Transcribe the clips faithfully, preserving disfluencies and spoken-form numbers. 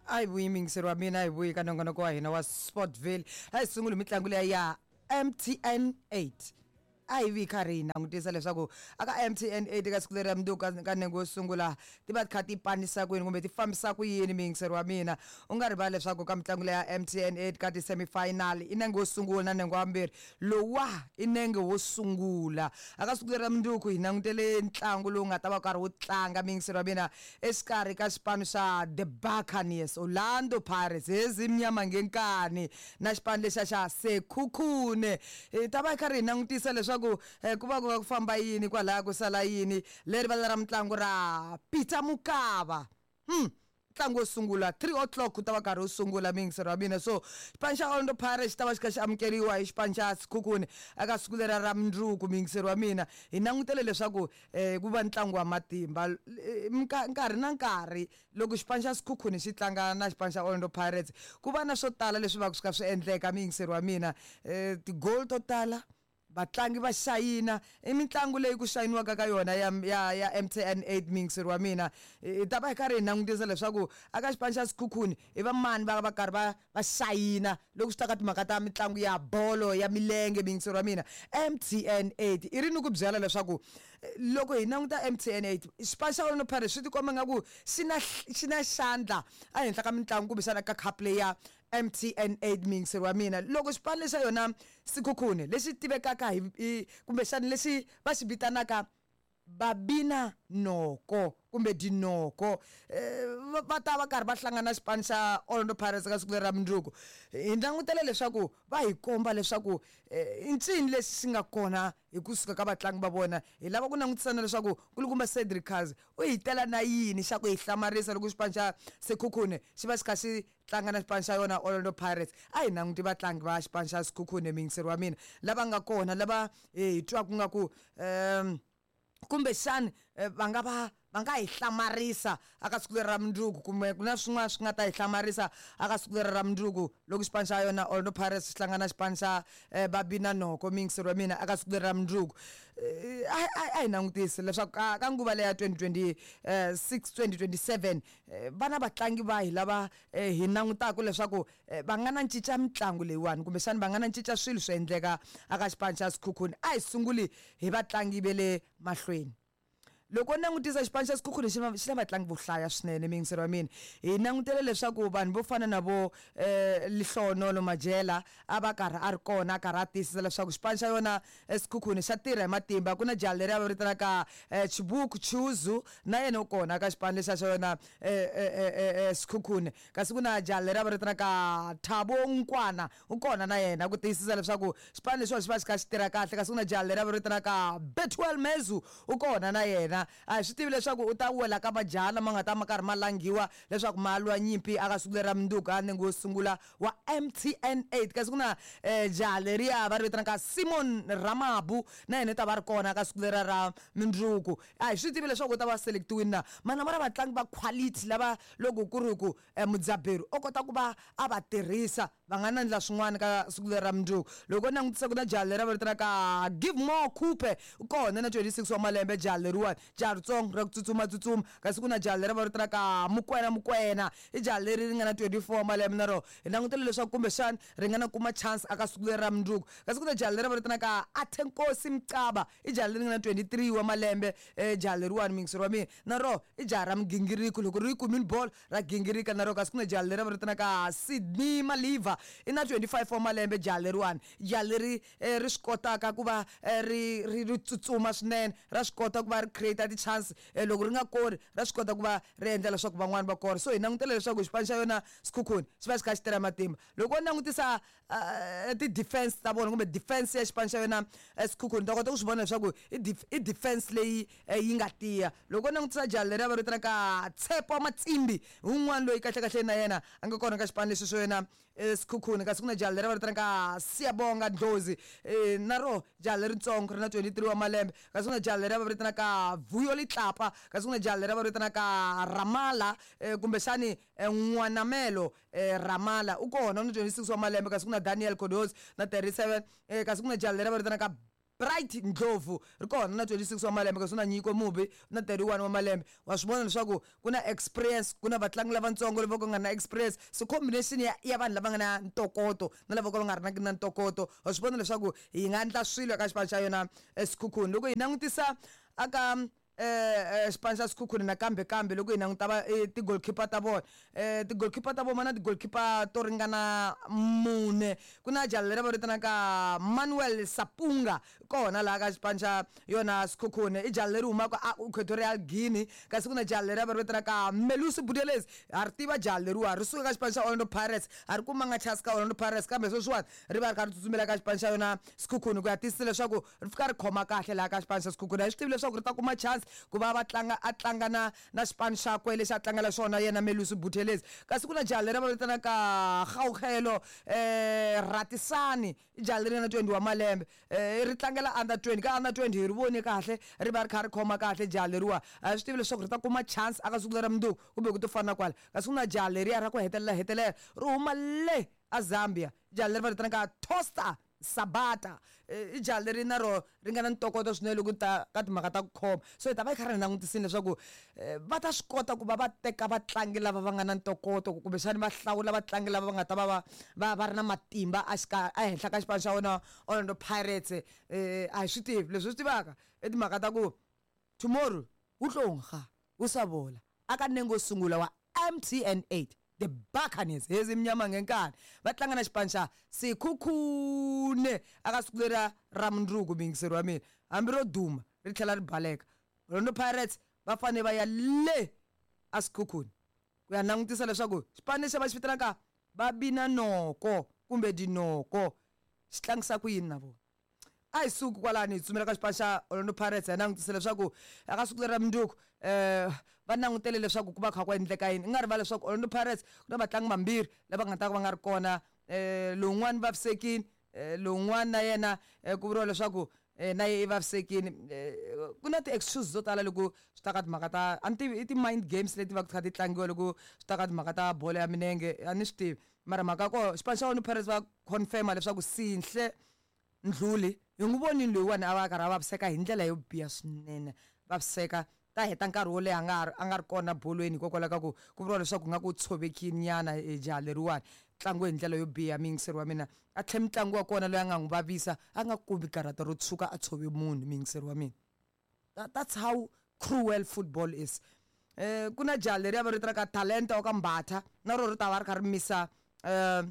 A hi vuyi miyingiseri wa mina, a hi vuyi ka nongonoko wa hina wa Sportville. A hi sunguli mitlangu leya ya M T N eight. A hi vi karhi hi langutisa leswaku aka M T N eight ka siku leri ya mundzuku ka ka nenge wo sungula ti va ti kha ti panisa ku yini kumbe ti fambisa ku yini. Miyingiseri wa mina, u nga rivali leswaku ka mitlangu leya M T N eight ka ti-semifinal i nenge wo sungula na nenge wa vumbirhi. Lowuwa i nenge wo sungula. Aka siku leri ra mundzuku hi langutele ntlangu lowu nga ta va karhi wu tlanga, miyingiseri wa mina, exikarhi ka xipano xa The Buccaneers, Orlando Pirates, Ezimnyama Ngenkani, na xipano lexa xa Sekhukhune. Hi ta va hi karhi hi langutisa leswaku eh, ku va ku va ku famba yini kwalaya, ku sala yini leri vala ra mitlangu ra Peter Mokaba. hmm ntlangu wo sungula three o'clock ku ta va karhi wu sungula, miyingiseri wa mina. So xipano xa Orlando Pirates xi ta va xi kha xi amukeriwa hi xipano xa Sekhukhune eka siku lera ra mundzuku. Miyingiseri wa mina, hi langutele leswaku um ku va ntlangu wa matimba. Eh, nka- nkarhi na nkarhi loko xipano xa Sekhukhune xi tlanga na xipano xa Orlando Pirates, ku va na swo tala leswi va ku swi kha swi endleka, miyingiseri wa mina. um ti-goal to tala, vatlangi va xayina, i mitlangu leyi ku xayiniwaka ka yona ya ya ya M T N eight. Miyingiseri wa mina, hi ta va hi karhi hi langutisa leswaku aka xipano xa Sekhukhune i va mani va va karhi va va xayina loko swi ta ka timhaka ta mitlangu ya bolo ya milenge. Miyingiseri wa mina, M T N eight i ri ni ku byela leswaku eh, loko hi languta M T N eight, xipano xa Orlando Pirates swi tikomba nga ku xi na xi na xandla ehenhla ka mitlangu kumbexana ka cup leyi ya M T N eight. Miyingiseri wa mina, loko xipano lexa yona Sekhukhune lexi tivekaka hi, hi kumbexana lexi va xi vitanaka Babina Noko kumbe Dinoko, eh, va va ta va karhi va hlangana na xipano xa Orlando Pirates ka siku leri ra mundzuku, hi langutele leswaku va hi komba leswaku eh, i ncini lexi xi nga kona hi kusuka ka vatlangi va vona. Hi lava ku langutisana leswaku kulukumba Cedric Kaze u hi tela na yini xa ku hi hlamarisa loko xipano xa Sekhukhune xi va xi kha xi tlanga na xipano xa yona Orlando Pirates. A hi languti vatlangi va xipano xa Sekhukhune, miyingiseri wa mina, lava nga kona, lava eh, hi twaku nga ku um kumbexani eh, va nga va va nga hi hlamarisa aka siku leri ra mundzuku, kumbe ku na swin'wana swi nga ta hi hlamarisa aka siku leri ra mundzuku loko xipano xa yona Orlando Pirates xi hlangana na xipano xa eh, Babina Noko. Miyingiseri wa mina, aka siku leri ra mundzuku eh, a a- a hi langutisi leswaku ka ka nguva leya twenty twenty-six twenty twenty-seven eh, va na vatlangi vahi lava eh, hi langutaka leswaku eh, va nga na cinca mitlangu leyiwani, kumbexani va nga na cinca swilo swo endleka aka xipano xa Sekhukhune. A hi sunguli hi vatlangi ve le mahlweni. Loko u langutisa xipano xa Sekhukhune, xi na xi na vatlangi vo hlaya swinene, miyingiseri wa mina. Hi langutele leswaku vanhu vo fana na vo um Lehlohonolo Majela a va karhi a ri kona, a karhi a tiyisisa leswaku xipano xa yona eh, Sekhukhune xa tirha hi matimba. Ku na jaha leri a va vitanaka um Chibuku Chuzu, na yena u kona ka xipano lexa xa yona um Sekhukhune. Kasi ku na jaha leri a va vitanaka Thabo Nkwana, u kona na yena ku tiyisisa leswaku xipano lexiwa xi va xi kha xi tirha kahle. Kasi ku na jaha leri a va vitanaka Bethuel Mezu, u kona na yena. A hi swi tivi leswaku u ta wela ka majaha lama nga ta ma karhi ma langiwa leswaku ma lwa nyimpi aka siku leri ra mundzuku a nenge wo sungula wa M T N eight. Kasi ku na um jaha leriya va ri vitanaka Simon Ramabu, na yena u ta va ri kona ka siku leriya ra mundzuku. A hi swi tivi leswaku u ta va selectiwini na mana va ra vatlangi va quality lava loko ku ri ku um mudzaberi o kota ku va a va tirhisa, va nga na ndla swin'wana ka siku leri ra mundzuku. Loko u langutisa, ku na jaha leri va vitanaka Give More Coupe, u kona na twenty-six wa malembe jaha leriwani, jaha ritsongo ra ku tsutsuma tsutsuma. Kasi ku na jaha leri va vitanaka Mukwena Mukwena, i jaha leri ri nga na twenty-four wa malembe, na rona hi langutele leswaku kumbexani ri nga na kuma chance aka siku leri ra mundzuku. Kasi ku na jaha leri va vitanaka Athenkosi Mcaba, i jaha leri nga na twenty-three wa malembe. um jaha leriwani, miyingiseri wa mina, na rona i jaha ra migingiriko, loko ri yi kumini bolo ra gingirika na rona. Kasi ku na jaha leri va vitanaka Sydney Maliva, i na twenty-five wa malembe jaha leriwani, jaha leri eh, ri swi kotaka ku va eh, ri ri ri tsutsuma swinene, ra swi kota ku va ri create ti-chance. eh, loko ri nga kori, ra swi kota ku va ri endla leswaku van'wani va kora. So hi langutela leswaku xipano xa yona Sekhukhune xi va xi kha xi tirha matimba. Loko u langutisa uh, ti-defense ta vona kumbe defense ya xipano xa yona eh, Sekhukhune, ta kota ku swi vona leswaku i def- i defense leyi eh, yi nga tiya. Loko u langutisa jaha leri va vitanaka Tshepo Matsimbi, wun'wana loyi kahlekahle na yena a nga kona ka xipano lexi xo yona eh, Sekhukhune. Kasi ku na jaha leri va vitanaka Siyabonga Ndlozi, eh, na ro jaha leritsongo ri na twenty-three wa malembe. Kasi ku na jaha leri va vitanaka Vuyo Litlapa. Kasi ku na jaha leri va vitanaka Ramala, eh, kumbexani eh, N'wanamelo eh, Ramala, u kona, u na twenty-six wa malembe. Kasi ku na Daniel Kodos na thirty-seven. eh, kasi ku na jaha leri va vitanaka Bright Ndlovu ri kona na twenty-six wa malembe, kasi na Nyiko Mubi na thirty-one wa malembe. Wa swi vona leswaku ku na experience, ku na vatlangi lavatsongo lava ku nga na experience, so combination ya, ya vanhu lava nga na ntokoto na lava ka va nga ri na ntokoto, wa swi vona leswaku hi nga endla swilo eka xipano xa yona Sekhukhune. Loko hi langutisa aka eh xipano xa Sekhukhune nakambe kambe loko hi languta va ti-goalkeeper ta vona, eh ti-goalkeeper ta vona na ti-goalkeeper to ringana mune. Ku na jaha leri va vitanaka Manuel Sapunga kona laha ka xipano xa yona Sekhukhune, i jaha leri humaka a Equatorial Guinea. Kasi ku na jaha leri va vitanaka Melusi Buthelezi, ha ri tiva jaha leriwa, ri suka ka xipano xa Orlando Pirates, a ri kumanga chance ka Orlando Pirates, kambe sweswiwani ri va ri kha ri tsutsumela ka xipano xa yona Sekhukhune ku ya tiyisisa leswaku ri fika ri khoma kahle laha ka xipano xa Sekhukhune. A hi swi tivi leswaku ri ta kuma chance ku va va tlanga a tlanga na na xipano xakwe lexi a tlangela xona yena Melusi Buthelezi. Kasi ku na jaha leri va vitanaka Gauhelo eh Ratisani, i jaha leri nga na twenty wa malembe, eh ri tlangela under twenty. Ka under twenty hi ri vone kahle ri va ri kha ri khoma kahle jaha leriwa, a swi tivi leswaku ri ta kuma chance aka siku lera mundzuku kumbe ku to fana kwala. Kasi ku na jaha leriya ra ku hetelela hetelela ri huma le a Zambia, jaha leri va vitanaka Toaster Sabata, i jaha leri na ro ri nga na ntokoto swinene loko ta ka timhaka ta ku khoma. So hi ta va hi kha ri langutisini leswaku va ta swi kota ku va va teka vatlangi lava va nga na ntokoto, kumbexani va hlawula vatlangi lava va nga ta va va va va ri na matimba a xika ehenhla ka xipano xa wona Orlando Pirates. Eh a hi swi tivi leswi swi tivaka i timhaka ta ku tomorrow wu tlonga wu sa vola aka nengo wo sungula wa M T N eight, the Buccaneers hezi mnyama ngenkani va tlanga na xipano xa Sekhukhune aka siku leriya ra mundzuku. Muyingiseri wa mina, hambi ro duma ri tlhela ri baleka, Orlando Pirates va fanele va ya le a Sekhukhune ku ya langutisa leswaku xipano lexi va xi vitanaka va bina noko kumbe dinoko xi tlangisa ku yini na vona. A hi suki kwalani hi tsutsumela ka xipano xa Orlando Pirates hi langutisa leswaku aka siku lera mundzuku eh va langutele leswaku ku va kha ku endleka yini. I nga rivali leswaku Orlando Pirates ku na vatlangi vambirhi lava nga ta va nga ri kona, eh lowun'wani vavisekile, lowun'wana na yena ku vuriwa leswaku na ye i vavisekile. Ku na ti-excuse to tala loko swi ta ka timhaka ta a ni tivi i ti-mind games leti va kha ti tlangiwa loko swi ta ka timhaka ta bolo ya milenge, a ni swi tivi. Mara mhaka ya koho xipano xa Orlando Pirates va confirm-a leswaku Sinhle Ndluli hi n'wi vonile loyiwani a va a karhi a vaviseka hi ndlela yo biha swinene, vaviseka ta heta nkarhi wo leha a nga a nga ri kona bolweni hikokwalaho ka ku ku vuriwa leswaku nga ku tshovekile nyana jaha leriwani, tlangiwe hi ndlela yo biha. Muyingiseri wa mina a tlhe mutlangi wa kona loyi a nga n'wi vavisa a nga kumi karata ro tshuka a tshove munhu. Muyingiseri wa mina, that's how cruel football is. Eh ku na jaha leriya va ri vitanaka Talenta wa ka Mbatha, na ro ri ta va ri kha ri misa eh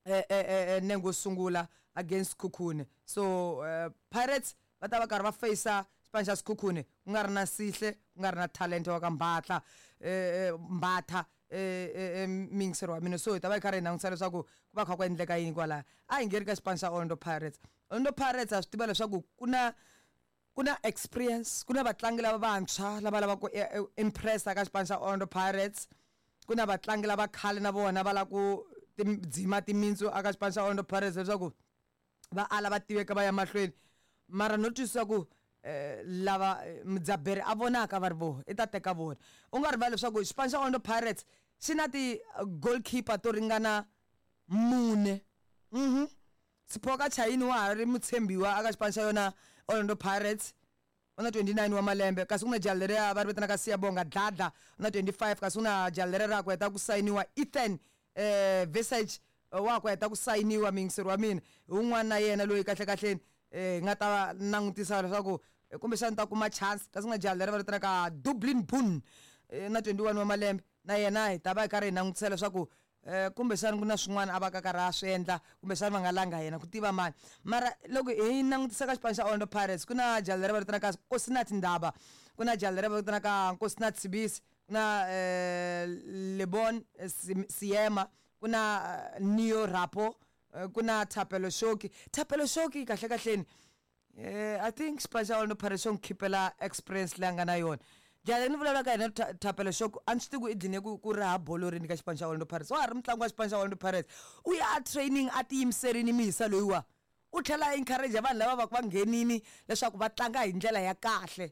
eh nengo wo sungula against Sekhukhune. So uh, Pirates va ta va karhi va face xipano xa Sekhukhune ku nga ri na Sihle, ku nga ri na Talenta wa ka Mbatha, eh Mbatha eh muyingiseri wa mina. So hi ta va hi karhi hi langutisa leswaku ku va kha ku endleka yini kwalaya. A hi ngheni ka xipano xa Orlando Pirates. Orlando Pirates ha swi tiva leswaku ku na ku na experience, ku na vatlangi lava vantshwa lava lavaka ku impress-a ka xipano xa Orlando Pirates, ku na vatlangi lava khale na vona va lava ku dzima timintsu aka xipano xa Orlando Pirates leswaku va ala va tiveka va ya mahlweni. Mara no twisisa ku lava mudzaberi a vonaka va ri voho i ta teka vona. U nga rivali leswaku xipano xa Orlando Pirates xi na ti-goalkeeper to ringana mune. Mhm Siphoka Chayini wa ha ri mutshembiwa aka xipano xa yona Orlando Pirates, u na twenty-nine wa malembe. Kasi ku na jaha leriya va ri vitanaka Siyabonga Dladla u na twenty-five. Kasi ku na jaha leriya ra ku heta ku sayiniwa Ethan eh Visage wa ku heta ku sayiniwa. Muyingiseri wa mina hi wun'wana na yena loyi kahle kahleni eh nga ta langutisa leswaku kumbexana ta kuma chance. Kasi ku na jaha leri va vitanaka Dublin Boone na twenty-one wa malembe, na yena hi ta va hi karhi hi langutisa leswaku eh kumbexana ku na swin'wana a va ka karhi a swi endla, kumbexana va nga langa yena ku tiva mani. Mara loko hi langutisa ka xipano xa Orlando Pirates ku na jaha leri va vitanaka Nkosinathi Ndaba, ku na jaha leri va vitanaka Nkosinathi Sibisi, ku na eh Lebon Siema, ku na Neo Rapo, ku na Thapelo Shoki. Thapelo Shoki kahle kahleni eh I think xipano xa Orlando Pirates xo n'wi khipela experience leyi a nga na yona. Jaha leri ni vulavulaka yena Thapelo Shoki a ni swi tivi ku i dline ku ku raha bolo rini ka xipano xa Orlando Pirates. Wa ha ri mutlangi wa xipano xa Orlando Pirates, u ya a training a tiyimiserini mihisa loyiwa, u tlhela a encourage vanhu lava va va nghenini leswaku va tlanga hi ndlela ya kahle.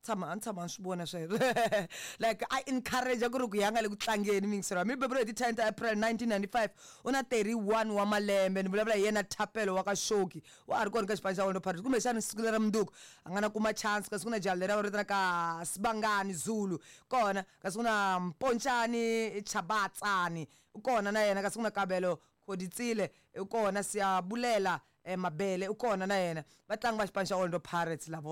Tshama a ni tshama ni swi vona sweswo. Like a encourage ku ri ku ya nga le ku tlangeni mingisero. Mi beburiwe hi ti ten ta April nineteen ninety-five, u na thirty-one wa malembe. Ni vulavula hi yena Thapelo wa ka Shoki, wa ha ri kona ka xipano xa Orlando Pirates. Kumbexana siku lera mundzuku a nga na kuma chance, kasi ku na jaha leri va vitanaka Sibangani Zulu kona, kasi ku na Mpontshani Chabatsani u kona na yena, kasi ku na Kabelo Khoditsile u kona, Siyabulela eh, Mabele u kona na yena. Vatlangi va xipano xa Orlando Pirates lavo.